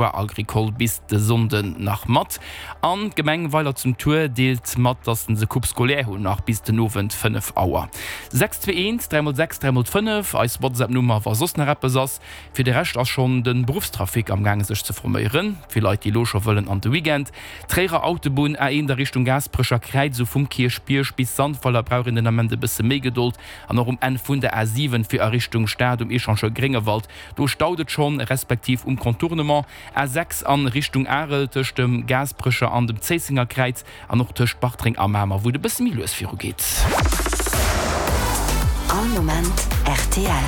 Foire Agricole bis de Sonnden nach mat. An d'Gemeng Weiler zum Tuer deelt mat, dass se Coupe scolaire hunn nach bis den Owend 5 Auer. 6 2 1 3 x 6 3 x 5, eis WhatsApp Nummer wa soss nach eppes ass. Fir de Rescht ass schonn de Beruffstrafic am gaange sech ze forméieren. Fir Leit déi elo scho wëllen an de Weekend. Tréierer Autobunn A1 a Richtung Gaasperecher Kräiz, esou vum Kierchbierg bis Sandweiler brauch een den Ament e bësse méi Gedold. An och um Enn vun der A7 fir a Richtung Stad um Echangeur Gréngewald Do staut et schonn, respektiv um Contournement A6 an Richtung Arel, tëscht dem Gaasperecher an dem Zéissenger Kräiz an och tëscht Bartreng a Mamer, wou et e bësse méi lues viru geet. All Moment rtl.